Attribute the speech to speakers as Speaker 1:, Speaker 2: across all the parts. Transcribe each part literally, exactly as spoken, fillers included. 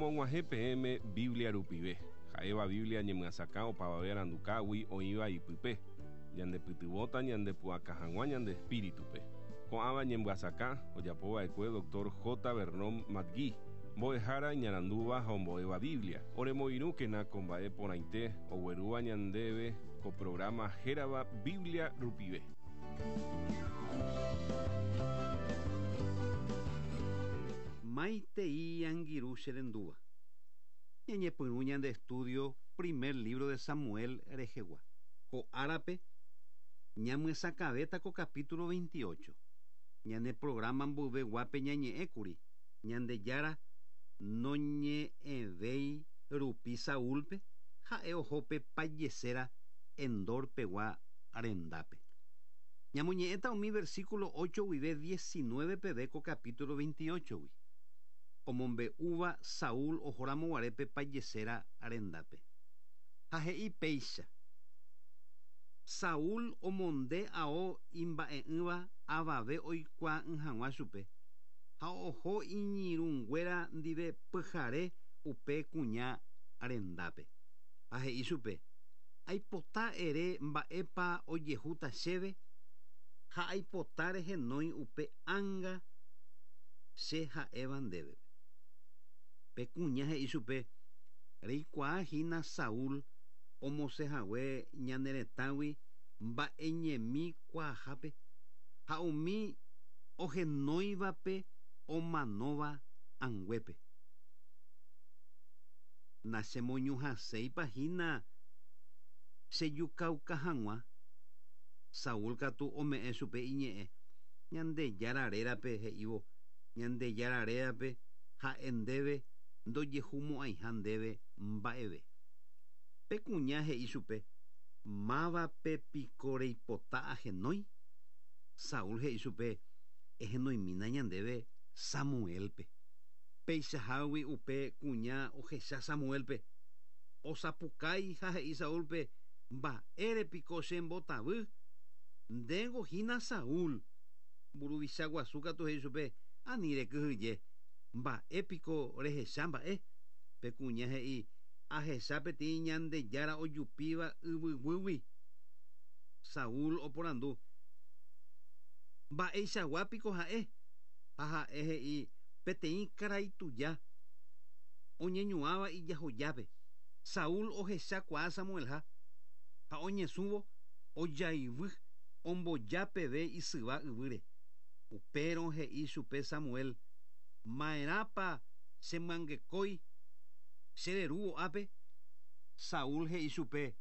Speaker 1: Romog̃uahẽ peẽme Biblia rupive. Ha'éva Biblia ñemyasakã opavave arandukágui oĩva ipype. Ñandepytyvõta ñandepu'aka hag̃ua ñande espíritupe. Ko'ãva ñemyasakã ojapova'ekue doctor J. Vernon McGee. Mbo'ehára iñarandúva ha ombo'éva Biblia. Oremoirũkena ko mba'e porãite oguerúva ñandéve ko programa hérava Biblia rupive.
Speaker 2: Maitei angirũ cherendúva. Ñañepyrũ ñande estudio primer libro de Samuel rehegua. Ko árape ñamyesakãvéta ko capítulo veintiocho. Ñane programa mboyveguápe ñañe'ẽkuri Ñandejára noñe'ẽvéi rupi Saúlpe ha'e ohópe pajeséra Endor-pegua rendápe. Ñamoñe'ẽta umi versículo ocho guive diecinueve peve ko capítulo veintiocho-gui. Omombe'úva Saúl ohoramoguarépe pajeséra rendápe. Ha he'i péicha. Saúl omonde ao imba'e'ỹva avave oikuaa'ỹ hag̃ua chupe. Ha oho iñirũnguéra ndive pyhare upe kuña rendápe. Ha he'i chupe, aipota ere mba'épa ojehúta chéve ha aipota rehenói upe ánga che ha'éva ndéve. Pe kuña he'i chupe, reikuaahína Saúl omosẽhague ñane retãgui mba'eñemi kuaahápe ha umi ohenóivape omanóva anguépe. Nachemoñuhãséipa hína chejukauka hag̃ua. Saúl katu ome'ẽ chupe iñe'ẽ Ñandejára rérape he'ívo Ñandejára rérape ha'e ndéve ndojehumo'ãiha ndéve mba'eve. Pe kuña he'i chupe, mávape piko reipota ahenói. Saúl he'i chupe, ehenoimína ñandéve Samuelpe. Peichahágui upe kuña ohecha Samuelpe. Osapukái ha he'i Saúlpe, mba'ére piko chembotavy. Ndéngo hína Saúl. Mburuvicha guasu katu he'i chupe, ani rekyhyje. Mba'e piko rehecha mba'e. Pe kuña he'i, ahecha peteĩ Ñandejára ojupíva yvyguýgui. Saúl oporandu, mba'eichagua piko ha'e. Ha ha'e he'i, peteĩ karai tuja oñeñuãva ijahojápe. Saúl ohechakuaa Samuelha ha oñesũvo ojaivy omboja peve isyva yvýre. Upérõ he'i chupe Samuel, ma'erãpa chemyangekói chererúvo ápe. Saúl he'i chupe,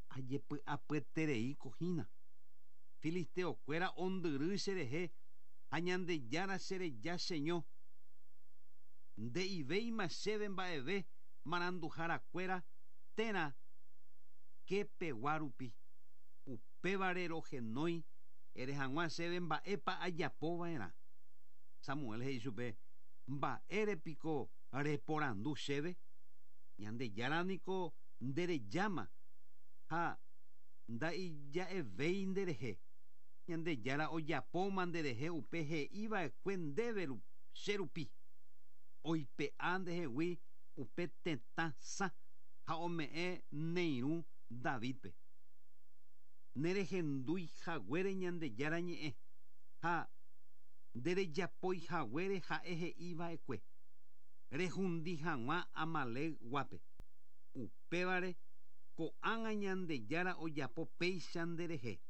Speaker 2: ajepy'apyetereíko hína. Filisteokuéra ondyry cherehe ha Ñandejára chereja cheño. Nde'ivéima chéve mba'eve maranduharakuéra térã kepegua rupi. Upévare rohenói ere hag̃ua chéve mba'épa ajapova'erã. Samuel he'i chupe, mba'ére piko reporandu chéve. Ñandejára niko nderejáma ha nda'ija'evéi nderehe. Ñandejára ojapóma nderehe upe he'iva'ekue ndéve che rupi. Oipe'a ndehegui upe tetã sã ha ome'ẽ neirũ Davidpe. Nerehendúi haguére Ñandejára ñe'ẽ ha nderejapói haguére ha'e he'iva'ekue. Rehundi hag̃ua Amalec guápe. Upévare ko'ág̃a Ñandejára ojapo péicha nderehe.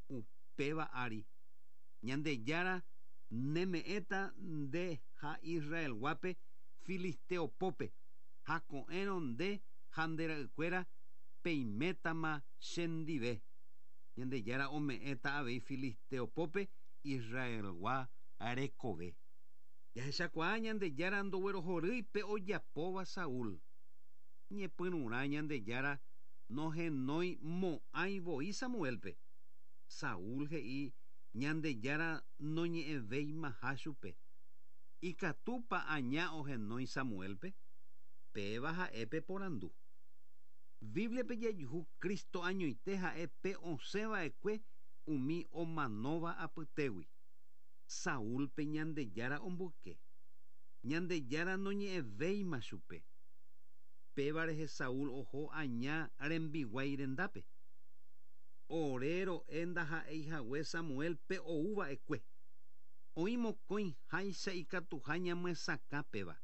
Speaker 2: Upéva ári Ñandejára neme'ẽta nde ha Israel guápe Filisteopópe ha ko'ẽrõ nde ha nde ra'ykuéra peimétama chendive. Ñandejára ome'ẽta avei Filisteopópe Israelgua rekove. Jahechakuaa Ñandejára ndoguerohorýipe ojapóva Saúl. Ñepyrũrã Ñandejára nohenói mo'ãi voi Samuelpe. Saúl he'i Ñandejára noñe'ẽvéimaha chupe. Ikatúpa aña ohenói Samuelpe. Péva ha'épe porandu. Bíbliape jajuhu Cristo añoite ha'épe osẽva'ekue umi omanóva apytégui. Saúlpe Ñandejára omboyke. Ñandejára noñe'ẽvéima chupe. Péva rehe Saúl oho aña rembiguái rendápe. Ore ro'e ndaha'eihague Samuelpe ouva'ekue. Oĩ mokõi háicha ikatuha ñamyesakã péva.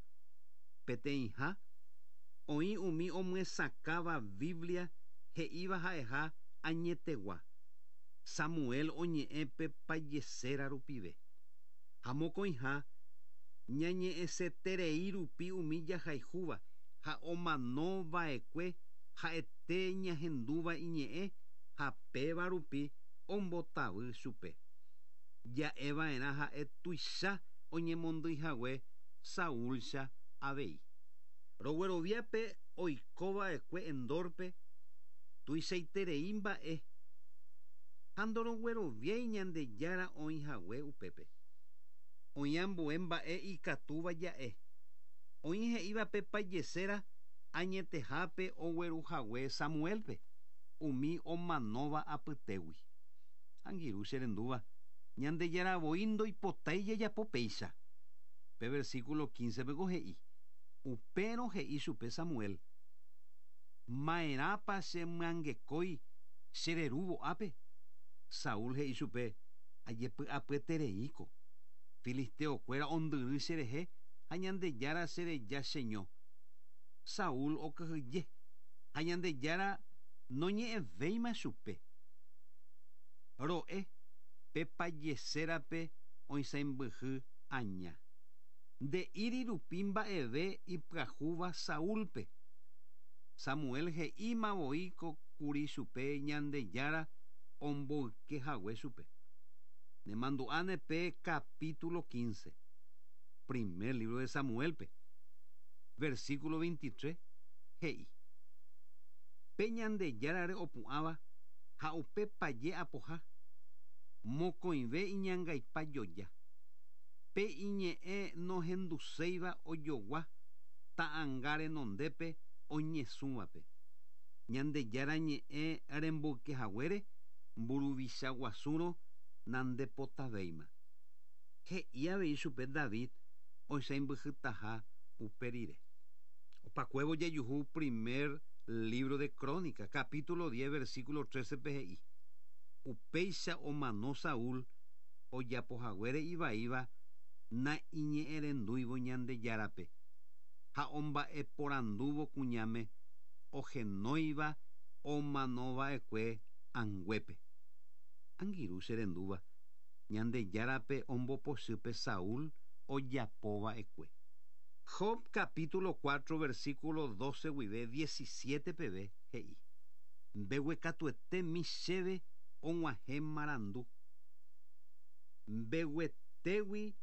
Speaker 2: Peteĩha, oĩ umi omyesakãva Biblia he'íva ha'eha añetegua. Samuel oñe'ẽ pe pajeséra rupive. Ha mokõiha, ñañe'ẽseterei rupi umi jahayhúva ha omanova'ekue ha'ete ñahendúva iñe'ẽ ha péva rupi ombotavy chupe. Ja'eva'erã ha'e tuicha oñemondýihague Saúlcha avei. Rogueroviápe oikova'ekue Endorpe tuichaiterei mba'e ha ndorogueroviái Ñandejára oĩhague upépe. Oĩ ambue mba'e ikatúva ja'e. Oĩ he'íva pe pajeséra añetehápe ogueruhague Samuelpe umi omanóva apytégui. Angirũ che rendúva, Ñandejára voi ndoipotái jajapo péicha. Pe versículo quince peko he'i. Upérõ he'i chupe Samuel. Ma'erãpa chemyangekói chererúvo ápe. Saúl he'i chupe ajepy'apyetereíko. Filisteokuéra ondyry cherehe ha Ñandejára chereja cheño. Saúl okyhyje ha Ñandejára noñe'ẽvéima chupe. Ro'e pe pajesérape oisãmbyhy aña. Nde'íri rupi mba'eve ipyahúva Saúlpe. Samuel he'íma voi kuri chupe Ñandejára omboykehague chupe. Nemandu'áne pe capítulo quince, primer libro de Samuelpe, versículo veintitrés, he'i. Pe Ñandejárare opu'ãva ha upe paje apoha, mokõive iñangaipa joja. Pe iñe'ẽ nohenduséiva ojogua ta'ãnga renondépe oñesũvape. Ñandejára ñe'ẽ remboykehaguére mburuvicha guasúrõ nandepotavéima. He'i avei chupe David oisãmbyhytaha upe rire. Opakuévo jajuhu primer libro de Crónica, capítulo diez, versículo trece pe he'i. Upéicha omano Saúl ojapohaguére ivaíva na iñe'ẽrendúivo Ñandejárape ha omba'eporandúvo kuñáme ohenóiva omanova'ekue anguépe. Angirũ che rendúva, Ñandejárape ombopochype Saúl ojapova'ekue. Job capítulo cuatro, versículo doce guive diecisiete peve he'i. Mbeguekatuete chéve og̃uahẽ marandu. Mbeguetégui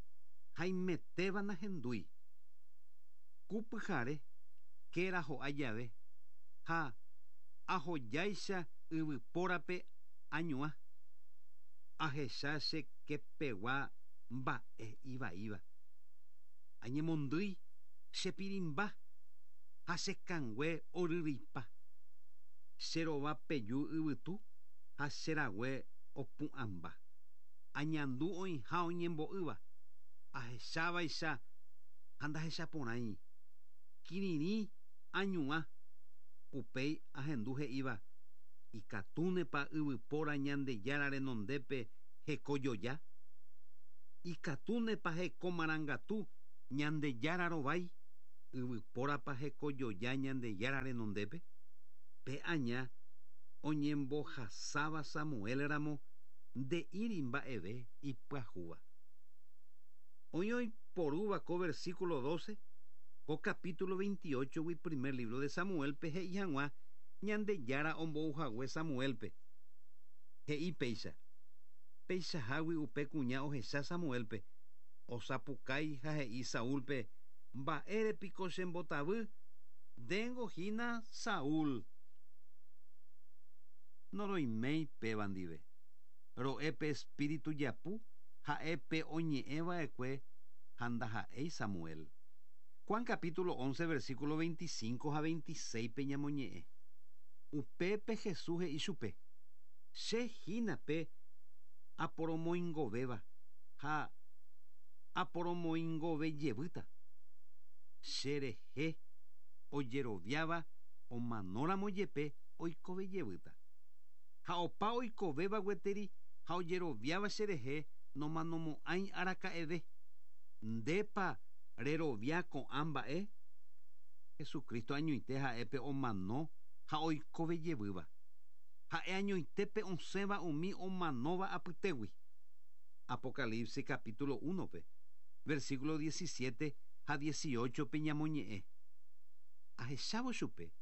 Speaker 2: haimetéva nahendúi. Kupyhare kéra ho'a jave ha ahojáicha yvypórape añuã. Ahecha che kepegua mba'e ivaíva. Añemondýi chepirimba ha chekangue oryrýipa. Cherova peju yvytu ha cherague opu'ãmba. Añandu oĩha oñembo'ýva. Ahechávaicha ha ndahechaporãi. Kirirĩ añuã. Upéi ahendu he'íva ikatúnepa yvypóra Ñandejára renondépe hekojoja. Ikatúnepa hekomarangatu Ñandejára rovái. Yvypórapa hekojoja Ñandejára renondépe. Pe aña oñembohasáva Samuel ramo nde'íri mba'eve ipyahúva. Oĩ oiporúva ko versículo doce, ko capítulo veintiocho gui primer libro de Samuelpe he'i hag̃ua Ñandejára ombouhague Samuelpe. He'i péicha. Peichahágui upe kuña ohecha Samuelpe. Osapukái ha he'i Saúlpe mba'érepiko chembotavy ndéngo hína Saúl. Noroiméi péva ndive. Ro'e pe espíritu japu ha'e pe oñe'ẽva'ekue ha ndaha'éi Samuel. Juan capítulo once, versículo veinticinco ha veintiséis pe ñamoñe'ẽ. Upépe Jesús he'i chupe. Che hína pe aporomoingovéva ha aporomoingovejevýta. Cherehe ojeroviáva omanóramo jepe oikove jevýta. Ha opa oikovéva gueteri ha ojeroviáva cherehe nomanomo'ãi araka'eve. Ndépa rerovia ko'ã mba'e? Jesucristo añoite ha'épe omano ha oikove jevýva. Ha'e añoitépe osẽva umi omanóva apytégui. Apocalipsis capítulo uno pe, versículo diecisiete ha dieciocho pe ñamoñe'ẽ. Ahechávo chupe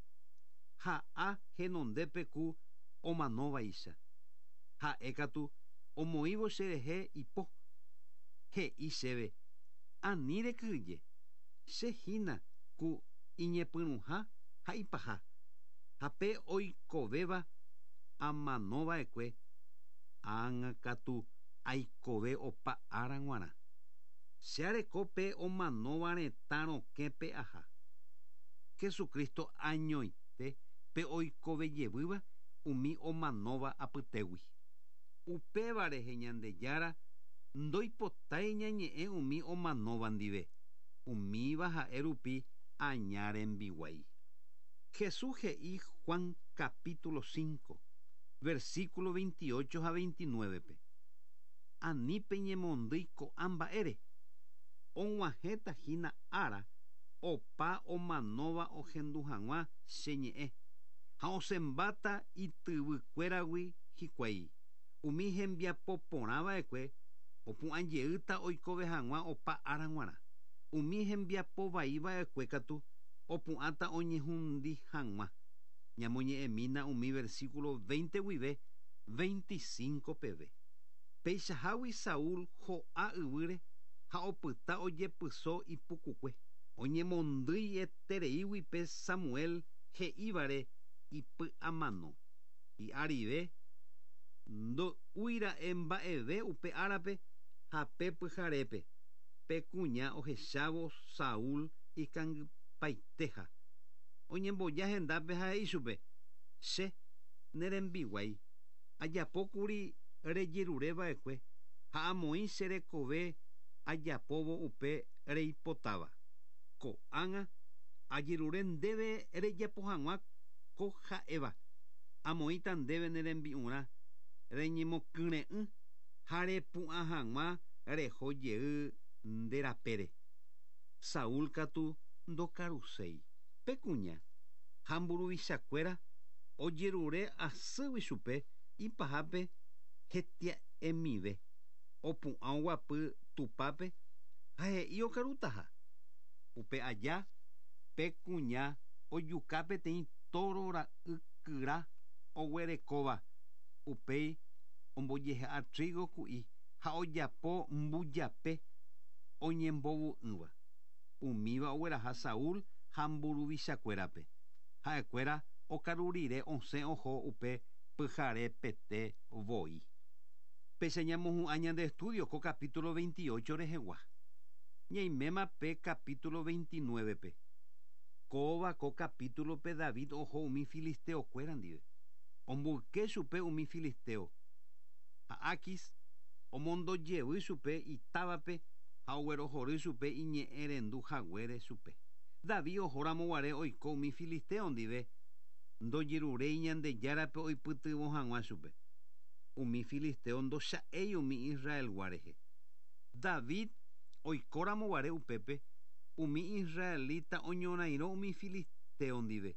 Speaker 2: ha'a henondépe ku omanóvaicha. Ha'e katu omoĩvo cherehe ipo. He'i chéve ani rekyhyje, che hína ku iñepyrũha ha ipaha. Ha pe oikovéva amanova'ekue ág̃a katu aikove opa ára g̃uarã. Che areko pe omanóva retã rokẽpe aha. Jesucristo añoite pe oikove jevýva umi omanóva apytégui. Upéva rehe Ñandejára ndoipotái ñañe'ẽ umi omanóva ndive, umíva ha'e rupi aña rembiguái. Jesús he'i Juan capítulo cinco, versículo veintiocho ha veintinueve pe. Ani peñemondýi ko'ã mba'ére. Og̃uahẽta hína ára opa omanóva ohendu hag̃ua che ñe'ẽ ha osẽmbáta ityvykuéragui hikuái. Umi hembiapo porãva'ekue opu'ãjeýta oikove hag̃ua opa ára g̃uarã. Umi hembiapo vaiva'ekue katu opu'ãta oñehundi hag̃ua. Ñamoñe'ẽmína umi versículo veinte guive veinticinco peve. Peichahágui Saúl ho'a yvýre ha opyta ojepyso ipukukue. Oñemondýi etereígui pe Samuel he'ívare ipy'amano. Hi'arive ndo'úira'e mba'eve upe árape ha pe pyharépe. Pe kuña ohechávo Saúl ikangypaitéha. Oñemboja hendápe ha he'i chupe: Che ne rembiguái ajapókuri rejerureva'ekue ha amoĩ che rekove ajapóvo upe reipotáva. Ko'ág̃a ajerure ndéve rejapo hag̃ua ko ha'éva. Amoĩta ndéve ne rembi'urã reñemokyre'ỹ ha repu'ã hag̃ua reho jey nde rapére. Saúl katu ndokaruséi. Pe kuña ha mburuvichakuéra ojerure asýgui chupe ipahápe hetia'emive. Opu'ã oguapy tupápe ha he'i okarutaha. Upe aja pe kuña ojuka peteĩ tóro ra'ykyra oguerekóva. Upéi ombojehe'a trigo ku'i ha ojapo mbujape oñembovu'ỹva. Umíva ogueraha Saúl ha mburuvichakuérape. Ha'ekuéra okaru rire osẽ oho upe pyharepete voi. Péicha ñamohu'ã ñande estudio ko capítulo veintiocho rehegua. Ñaiméma pe capítulo veintinueve pe. Kóva ko capítulo pe David oho umi filisteokuéra ndive. Omboyke chupe umi filisteo. Ha Aquis omondojevy chupe itávape ha oguerohory chupe iñe'ẽrendu haguére chupe. David ohóramo guare oiko umi filisteo ndive ndojeruréi Ñandejárape oipytyvõ hag̃ua chupe. Umi filisteo ndocha'éi umi Israelgua rehe. David oikóramo guare upépe umi israelita oñorairõ umi filisteo ndive.